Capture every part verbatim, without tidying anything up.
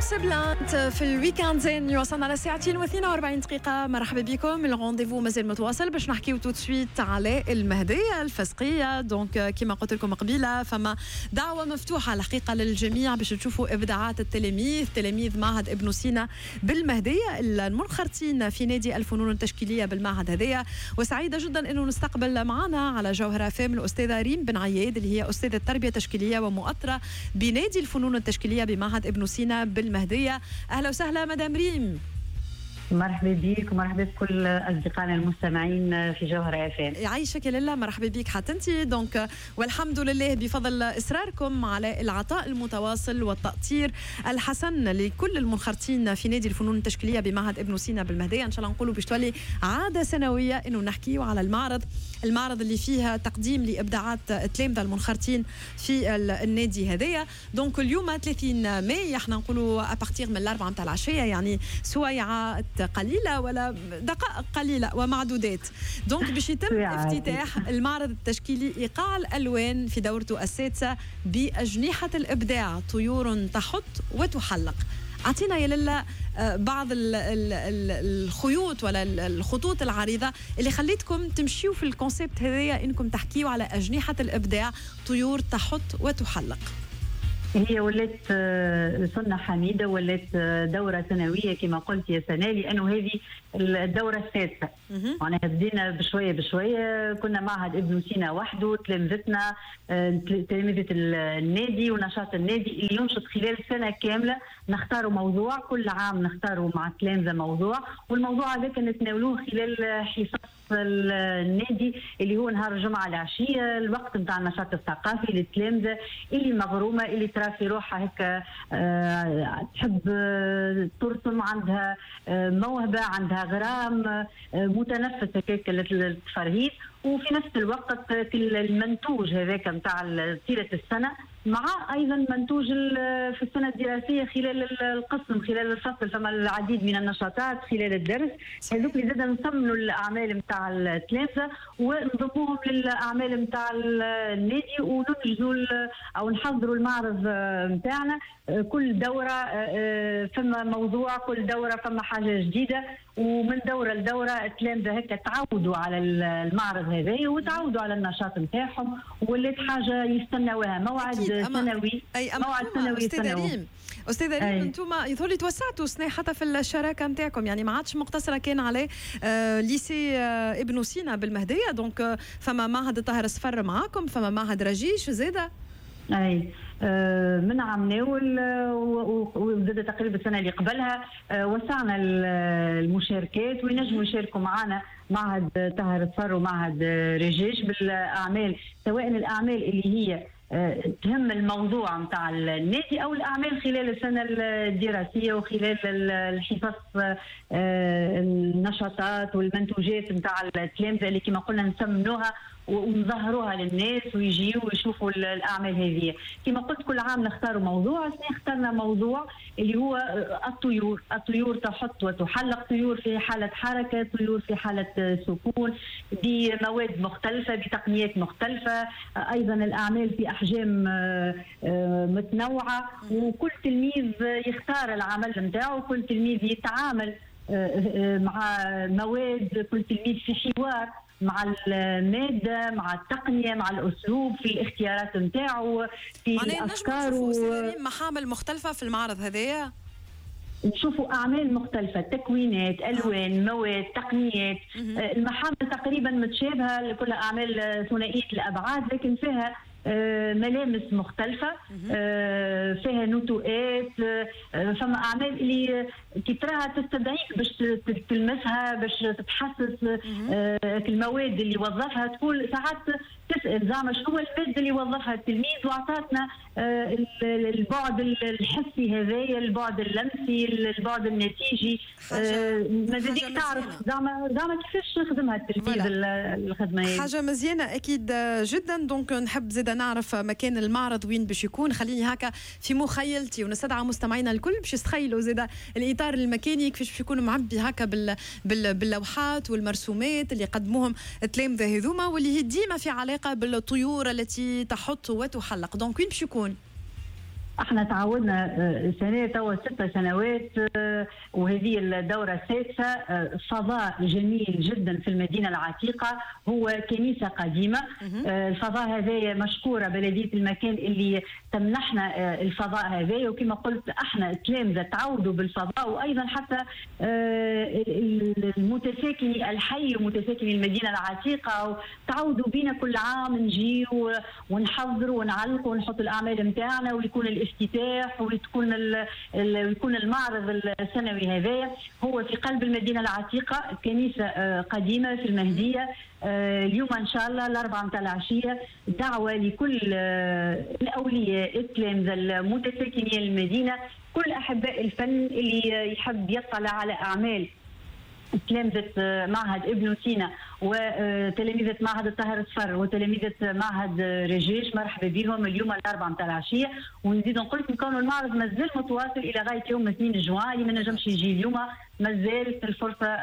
سبلانت في ال week-end زين. وصلنا على ساعتين واثنين وأربعين دقيقة. مرحبا بكم، ال rendez-vous مازال متواصل باش نحكيو tout de suite على المهدية الفسقية. donc كما قلت لكم قبيلة، فما دعوة مفتوحة الحقيقة للجميع باش تشوفوا إبداعات التلاميذ، تلاميذ معهد ابن سينا بالمهدية المنخرطين في نادي الفنون التشكيلية بالمعهد هذايا. وسعيدة جدا أنه نستقبل معنا على جوهرة أف أم الأستاذة ريم بن عياد، اللي هي أستاذة تربية تشكيلية ومؤطرة بنادي الفنون التشكيلية بمعهد ابن سينا بالمهدية. أهلا وسهلا مدام ريم. مرحبا بك ومرحبا بكل اصدقائنا المستمعين في جوهرة اف ام. يعيشك يا لاله، مرحبا بك حتى انت. donc والحمد لله بفضل اصراركم على العطاء المتواصل والتأطير الحسن لكل المنخرطين في نادي الفنون التشكيليه بمعهد ابن سينا بالمهديه، ان شاء الله نقولوا باش تولي عادة سنوية انه نحكيو على المعرض، المعرض اللي فيها تقديم لابداعات التلامذه المنخرطين في النادي هذايا. donc اليوم ثلاثين ماي، احنا نقولوا à partir من الاربعة نتاع العشيه، يعني سويعات قليله ولا دقائق قليله ومعدودات، donc باش يتم افتتاح المعرض التشكيلي ايقاع الالوان في دورته السادسة باجنحه الابداع، طيور تحط وتحلق. اعطينا يا لاله آه، بعض الخيوط ولا الخطوط العريضة اللي خليتكم تمشيوا في ال concept هذايا، انكم تحكيوا على اجنحة الابداع، طيور تحط وتحلق. هي ولات آه، سنة حميدة، ولات آه، دورة سنوية كما قلت يا سناء، لأنه هذه الدورة السادسة. معناها بدينا بشوية بشوية، كنا معهد ابن سينا وحده، تلامذتنا، آه، تلامذة النادي ونشاط النادي اللي ينشط خلال سنة كاملة. نختاروا موضوع كل عام، نختاروا مع التلامذة موضوع، والموضوع هذاك نتناولوه خلال حصص النادي اللي هو نهار الجمعة العشية، الوقت نتاع النشاط الثقافي للتلامذة اللي مغرومة، اللي ترى في روحها هكا آه، تحب ترسم، عندها آه، موهبة، عندها غرام، آه، متنفس هكاك للتفرهيد، وفي نفس الوقت المنتوج هذاك نتاع طيلة السنة مع ايضا منتوج في السنة الدراسية خلال القسم، خلال الفصل، فما العديد من النشاطات خلال الدرس هذوك اللي زاد نثمنوا الاعمال نتاع التلامذه ونضموهم للاعمال نتاع النادي وننجزوا او نحضروا المعرض نتاعنا. كل دوره فما موضوع، كل دوره فما حاجة جديده، ومن دوره لدوره التلامذه هكا تعودوا على المعرض هذا وتعودوا على النشاط نتاعهم، ولات حاجة يستناوها، موعد سنوي. أي موعد سنوي. أستاذة ريم، أستاذة ريم، انتم يظهر لي توسعتوا سنة حتى في الشراكة نتاعكم، يعني ما عادش مقتصرة كان على آه lycée آه ابن سينا بالمهدية، donc آه فما معهد طاهر الصفر معاكم، فما معهد رجيش زاده. اي، آه، من عام ناول وزاد تقريبا السنة اللي قبلها آه، وسعنا المشاركات وينجموا يشاركوا معنا معهد طاهر الصفر ومعهد رجاج بالاعمال، سواء الاعمال اللي هي آه، تهم الموضوع نتاع النادي او الاعمال خلال السنة الدراسية وخلال الحصص، النشاطات والمنتوجات نتاع التلامذه اللي كما قلنا نسمنوها ونظهروها للناس ويجيوا ويشوفوا الاعمال هذه. كما قلت كل عام نختاروا موضوع، السنة اخترنا موضوع اللي هو الطيور، الطيور تحط وتحلق، طيور في حاله حركه، طيور في حاله سكون، بمواد مختلفه، بتقنيات مختلفه، ايضا الاعمال في احجام آه، آه، متنوعه، وكل تلميذ يختار العمل نتاعو، كل تلميذ يتعامل آه، مع مواد، كل تلميذ في حوار مع المادة، مع التقنيه، مع الاسلوب في الاختيارات نتاعو، في الافكار. و... محامل مختلفة في المعرض هذايا. نشوفوا اعمال مختلفه، تكوينات، الوان، مواد، تقنيات. المحامل تقريبا متشابهه، كلها اعمال ثنائية الابعاد، لكن فيها آه، ملامس مختلفة، آه، فيها نتوءات، آه، فما أعمال اللي كي تراها تستدعيك باش تلمسها، باش تتحسس المواد اللي وظفها. تقول ساعات تسأل زعما شنو هو المادة اللي وظفها التلميذ، وأعطتنا البعد الحسي هذايا، البعد اللمسي، البعد النتيجي، ماذا بيك تعرف زعما زعما كيفاش خدمها التلميذ الخدمة. حاجة مزيانة أكيد جدا. donc نحب زيد نعرف مكان المعرض وين باش يكون، خليني هكا في مخيلتي ونستدعى مستمعينا الكل باش يتخيلوا زيد الاطار المكاني كيفاش باش يكون معبي هكا بال... بال... باللوحات والمرسومات اللي قدموهم التلامذه هذوما، واللي هي ديما في علاقة بالطيور التي تحط وتحلق. donc وين باش يكون؟ احنا تعودنا سنة توا ست سنوات وهذه الدورة السادسة. فضاء جميل جدا في المدينة العتيقة، هو كنيسة قديمة. الفضاء هذايا مشكورة بلديه المكان اللي تمنحنا الفضاء هذايا، وكما قلت احنا التلامذه تعودوا بالفضاء، وايضا حتى المتساكني الحي ومتساكني المدينة العتيقة تعودوا بينا كل عام نجي ونحضر ونعلق ونحط الاعمال نتاعنا، ويكون الافتتاح وتكون ويكون المعرض السنوي هذايا. هو في قلب المدينة العتيقة، كنيسة قديمة في المهدية. اليوم ان شاء الله الاربعة متاع العشية دعوه لكل الاولياء، التلامذه، المتساكنين المدينة، كل احباء الفن اللي يحب يطلع على اعمال تلامذة معهد ابن سينا وتلاميذة معهد الطاهر الصفر وتلاميذة معهد رجيش، مرحبا بهم اليوم الأربعة متاع العشية. ونزيد نقول لكم كون المعرض مازال متواصل إلى غاية يوم اثنين جوان، اللي ما نجمش يجي اليوم مازالت الفرصة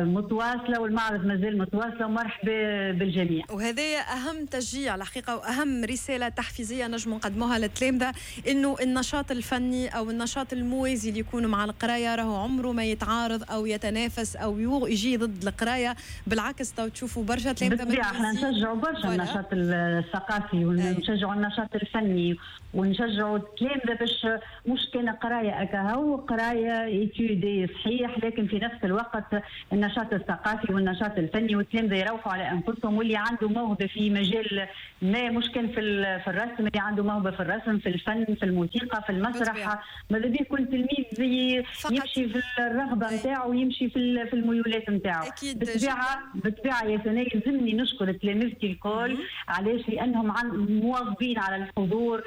متواصلة والمعرض مازال متواصلة، ومرحبا بالجميع. وهذا أهم تشجيع الحقيقة وأهم رسالة تحفيزية نجم نقدموها للتلامذة، إنه النشاط الفني أو النشاط الموازي اللي يكون مع القراية راهو عمره ما يتعارض أو يتنافس أو يجي ضد القراية، بالعكس تو تشوفوا برشا تلامذة. بالطبيعة احنا نشجعوا برشا النشاط الثقافي ونشجعوا النشاط الفني ونشجعوا التلامذة باش مش كان قراية أكاهو، قراية études صحيح، لكن في نفس الوقت النشاط الثقافي والنشاط الفني، والتلامذة يروحوا على انفسهم، واللي عنده موهبة في مجال ما، مش كان في في الرسم، اللي عنده موهبة في الرسم، في الفن، في الموسيقى، في المسرح، ماذا بيه كل تلميذ يمشي في الرغبة نتاعو ويمشي في في الميولات نتاعو. بالطبيعة بالطبيعة يا سناء يلزمني نشكر تلامذتي الكل. علاش؟ لانهم مواظبين على الحضور،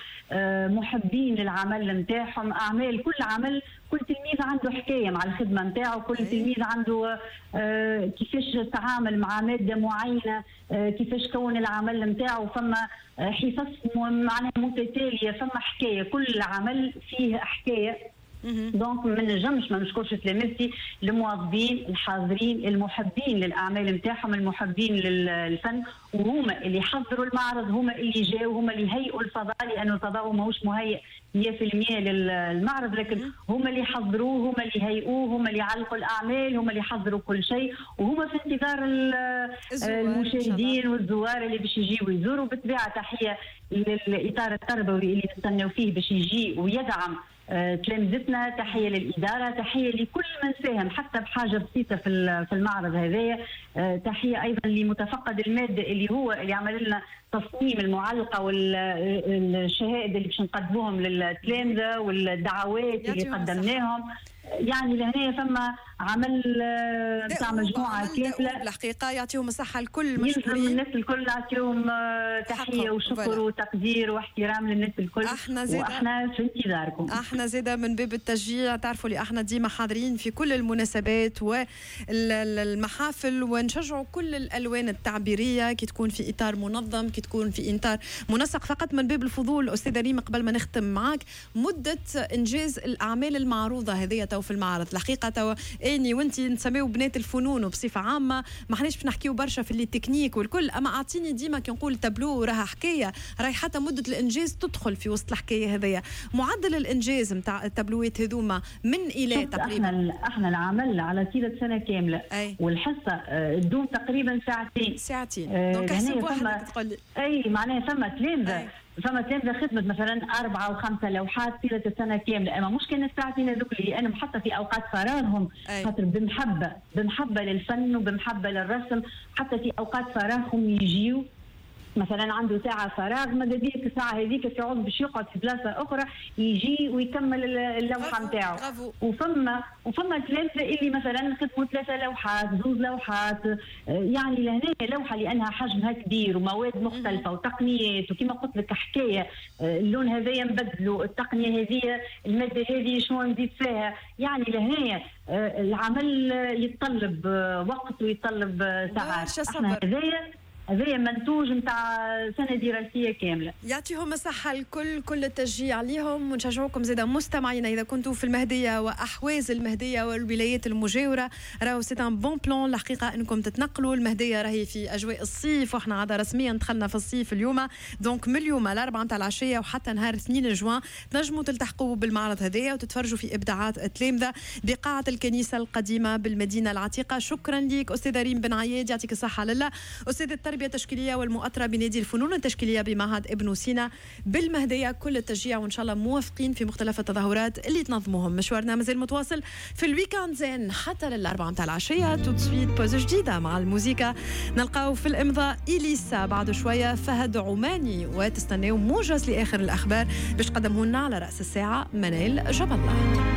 محبين للعمل نتاعهم، اعمال كل عمل، كل تلميذ عنده حكاية مع الخدمة نتاعو، كل تلميذ عنده آه كيفاش تعامل مع مادة معينة، آه كيفاش كون العمل نتاعو، فما حصص معناها متتالية، فما حكاية، كل عمل فيه حكاية. donc ما نجمش ما نشكرش تلامذتي المواظبين الحاضرين المحبين للاعمال نتاعهم، المحبين للفن، وهما اللي حضروا المعرض، هما اللي جاوا، هما اللي هيئوا الفضاء، لانه الفضاء ماهوش مهيئ مية بالمية للمعرض، لكن هما اللي حضروه، هما اللي هيئوه، هما اللي علقوا الاعمال، هما اللي حضروا كل شيء، وهما في انتظار المشاهدين والزوار اللي باش يجيوا يزوروا. بالطبيعة تحية للاطار التربوي اللي نستناو فيه باش يجي ويدعم تلامذتنا، تحية للادارة، تحية لكل من ساهم حتى بحاجة بسيطة في في المعرض هذايا، تحية ايضا لمتفقد المادة اللي هو اللي عمل لنا تصميم المعلقة والشهائد اللي باش نقدموهم للتلامذه والدعوات اللي قدمناهم. يعني لهنا فما عمل نتاع مجموعة كاملة الحقيقة، يعطيهم الصحة الكل، مشكورين الناس الكل، نعطيهم تحية وشكر وتقدير واحترام للناس الكل. احنا زيدا واحنا في انتظاركم، احنا زيدا من باب التشجيع، تعرفوا اللي احنا ديما حاضرين في كل المناسبات والمحافل، ونشجعوا كل الالوان التعبيريه كي تكون في اطار منظم، كي تكون في اطار منسق. فقط من باب الفضول استاذه ريم قبل ما نختم معاك، مده انجاز الاعمال المعروضة هذه تو في المعرض، الحقيقة تو اني وانت نسميو بنات الفنون وبصفه عامة ما حناش باش نحكيو برشا في les techniques والكل، اما اعطيني ديما كي نقول تابلو راها حكاية، راهي حتى مده الانجاز تدخل في وسط الحكاية هذيا. معدل الانجاز نتاع التابلوات هذوما من الى تقريبا؟ احنا احنا العمل على طيلة سنة كاملة. أي. والحصه تدوم تقريبا ساعتين ساعتين donc حسب وحدك تقول لي. اي معناها فما تلامذه، فما تلامذه خدمت مثلا اربعة وخمسة لوحات طيلة السنة كاملة، اما مش كان الساعتين هذوك لانهم حتى في اوقات فراغهم، خاطر بمحبة بمحبة للفن وبمحبه للرسم، حتى في اوقات فراغهم يجيو مثلا عنده ساعة فراغ، ماذا بيك الساعة هذيك في عوض باش يقعد في بلاصة اخرى يجي ويكمل اللوحة نتاعو. وفما وفما تلامذه اللي مثلا خدموا ثلاثة لوحات، زوز لوحات، يعني لهنا لوحة لانها حجمها كبير ومواد مختلفة وتقنيات، وكما قلت لك حكاية اللون هذايا نبدلوا، التقنية هذه، المادة هذه شنو نزيد فيها، يعني لهنا العمل يتطلب وقت ويتطلب ساعات. احنا هذايا هذا منتوج نتاع سنة دراسية كاملة. يعطيهم الصحة الكل، كل التشجيع عليهم، ونشجعوكم زاده مستمعينا اذا كنتوا في المهدية واحواز المهدية والولايات المجاوره، راهو c'est un bon plan الحقيقة انكم تتنقلوا. المهدية راهي في اجواء الصيف، واحنا عادة رسميا دخلنا في الصيف اليوم، donc من اليوم الاربعة نتاع العشية وحتى نهار اثنين جوان تنجموا تلتحقوا بالمعرض هذايا وتتفرجوا في ابداعات التلامذه بقاعه الكنيسة القديمة بالمدينة العتيقه. شكرا لك استاذه ريم بن عياد، يعطيك الصحة لله، استاذه التربية التشكيليه والمؤطره بنادي الفنون التشكيليه بمعهد ابن سينا بالمهديه. كل التشجيع وان شاء الله موفقين في مختلف التظاهرات اللي تنظموهم. مشوارنا مازال متواصل في ال week-end زين حتى للأربعة متاع العشية. tout de suite pause جديدة مع الموسيقى، نلقاو في الإمضاء إليسا، بعد شوية فهد عماني، وتستناو موجز لآخر الأخبار باش تقدمه لنا على رأس الساعة منال جاب الله.